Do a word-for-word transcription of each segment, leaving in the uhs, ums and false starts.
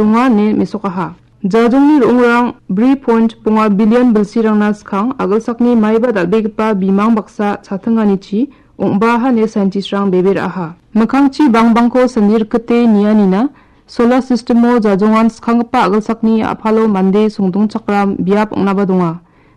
donga ine mesokaha. Jajongni ro·ongrang bri point bonga billion bilsirangna skang agilsakni maiba dal·begipa bimang baksa chatinganichi ong·baaha ine scientistrang bebe ra·aha. Mikkangchi bangbangko sandi rikite nianina, solar systemo jajongan skanggipa agilsakni a·palo mande songdongchakram biap ong·naba donga.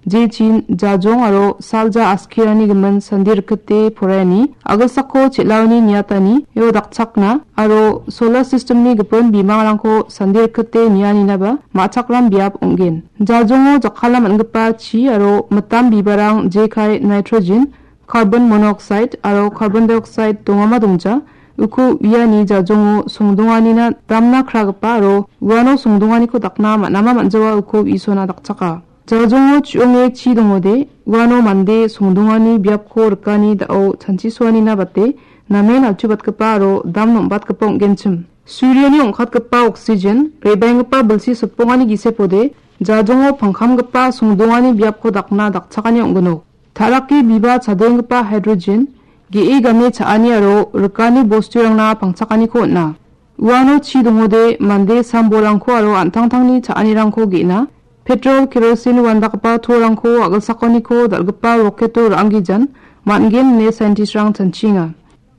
Jechin jajong aro salja askirani gimin sandi rikite poraiani, agilsako chel·aoni niatani, io dakchakna aro solar systemni gipin bimangrangko sandi rikite nianinaba ma·chakram biap ong·gen. Jajongo jakkalna man·gipa chi aro mitam bibarang jekai nitrogen, carbon monoxide aro carbon dioxide dongama dongja, uko uiani jajongo songdonganina damna kragipa aro uano songdonganiko dakna man·ama man·jawa uko isona dakchaka. Jajongo chu·onge chi dongode, uano mande songdongani biapko rikani da·o chanchisoanina bate, namen altubatgipa aro dam nom·batgipa ong·genchim. Surioni ong·katgipa oksigen, re·baenggipa bilsi sipongani gisepode, jajongo pangkamgipa songdongani biapko dakna dakchakani ong·ginok. Ta·rake biba chadenggipa hidrogen, ge·e game cha·ani aro rikani bosturangna pangchakaniko on·a. Uano chi dongode mande sambolrangko aro an·tangtangni cha·anirangko ge·na, petrol, kerosin uandakgipa torangko agilsakoniko dal·gipa roketo ra·anggijan man·gen ine scientistrang chanchienga.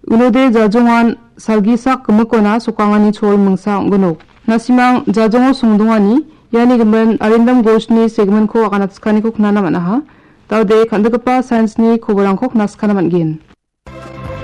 Unode jajongan salgisak gimikona sokangani chol mingsa ong·ginok. Nasimang jajongo songdongani, iani gimin Arindam Ghoshni segmentko aganatsikaniko knana man·aha. Daode kan·dikgipa science-ni koborangko knaskana man·gen.